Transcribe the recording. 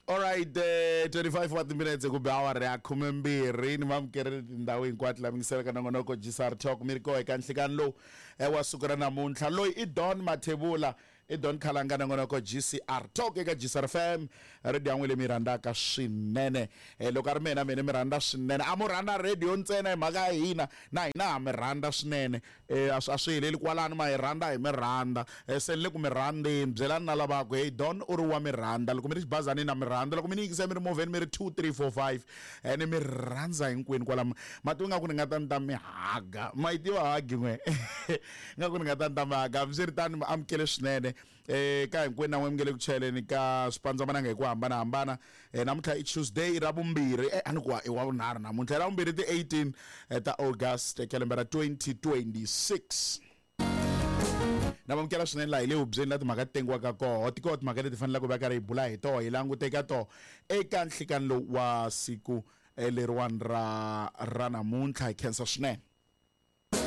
Alright, 25 wa timinetse ku be awara ya 12 ni vamukerile tindhawu hinkwato la mingiselaka nongonoko GCR Talk mi ri koho eka nhlikani lowu wa siku ra namuntlha. Loyi i Don Mathebula, i Don Khalanga nongonoko GCR Talk eka GCR FM, radio ya n'wina leyi mi yi rhandzaka swinene. Loko a ri mina mina mi rhandza swinene, a mo rhandza radio ntsena hi mhaka ya hina, na hina ha mi rhandza swinene. A swi a swi heleli kwalano ma hi rhandza hi mi rhandza. Se ni le ku mi rhandzeni, byelani na lava ku hey Don u ri wa mi rhandza. Loko mi ri xibazanini na mi rhandza, loko mi ni yingisa mi ri movheni mi ri 2 3 4 5 ni mi rhandza hinkwenu kwala. Ma tiva nga ku ni nga ta ni ta mi haga, ma yi tiva hagi n'we? Nga ku ni nga ta ni ta mi haga. Hambiswiritano mi amukele swinene ka hinkwenu na n'we mi nge le ku chayeleni ka swipandzamananga hi ku hambanahambana. Namuntlha i Tuesday ra vumbirhi, a ni ku i wa vunharhu namuntlha, i ra vumbirhi ti 18 ta August ka lembe ra 2026. Na vamukela swinene laha hi le hubyeni la timhaka ti tengiwaka koho. Ti koho timhaka leti fanelaka hi va karhi hi bula hi toho, hi langute eka toho eka nhlikani lowu wa siku leriwani ra namuntlha. Hi khensa swinene.